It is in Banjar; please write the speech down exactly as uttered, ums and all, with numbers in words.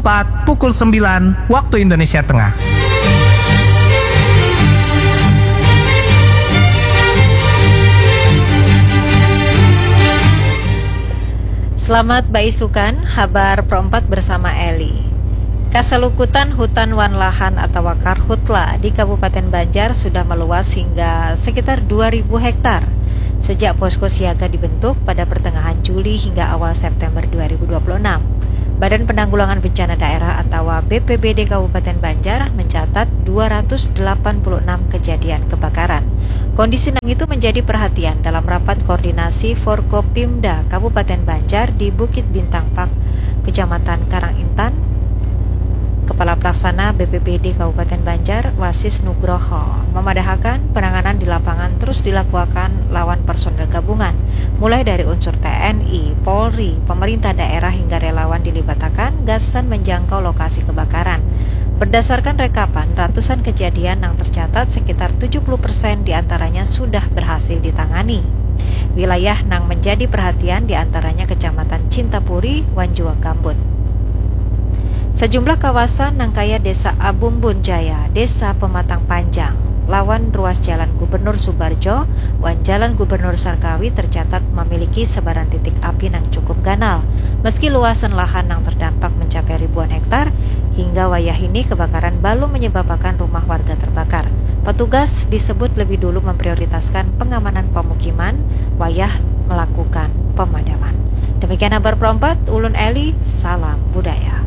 empat pukul sembilan waktu Indonesia Tengah. Selamat baisukan, habar Pro empat bersama Eli. Kasalukutan hutan wan lahan atawa karhutla di Kabupaten Banjar sudah meluas hingga sekitar dua ribu hektar sejak posko siaga dibentuk pada pertengahan Juli hingga awal September dua ribu dua puluh enam. Badan Penanggulangan Bencana Daerah atawa B P B D Kabupaten Banjar mencatat dua ratus delapan puluh enam kejadian kebakaran. Kondisi nang itu menjadi perhatian dalam rapat koordinasi Forkopimda Kabupaten Banjar di Bukit Bintang Park, Kecamatan Karang Intan. Kepala Pelaksana B P B D Kabupaten Banjar, Wasis Nugroho, memadahakan penanganan di lapangan terus dilakuakan lawan personel gabungan, mulai dari unsur T N I, Polri, pemerintah daerah hingga relawan dilibatakan gasan menjangkau lokasi kebakaran. Berdasarkan rekapan, ratusan kejadian nang tercatat sekitar tujuh puluh persen diantaranya sudah berhasil ditangani. Wilayah nang menjadi perhatian diantaranya Kecamatan Cintapuri wan jua Gambut. Sejumlah kawasan nang kaya Desa Abumbun Jaya, Desa Pematang Panjang, lawan ruas Jalan Gubernur Subarjo wan Jalan Gubernur Sarkawi tercatat memiliki sebaran titik api nang cukup ganal. Meski luasan lahan nang terdampak mencapai ribuan hektar, hingga wayah ini kebakaran balum menyebabakan rumah warga terbakar. Petugas disebut lebih dulu memprioritaskan pengamanan pemukiman wayah melakukan pemadaman. Demikian habar Pro empat, ulun Eli, salam budaya.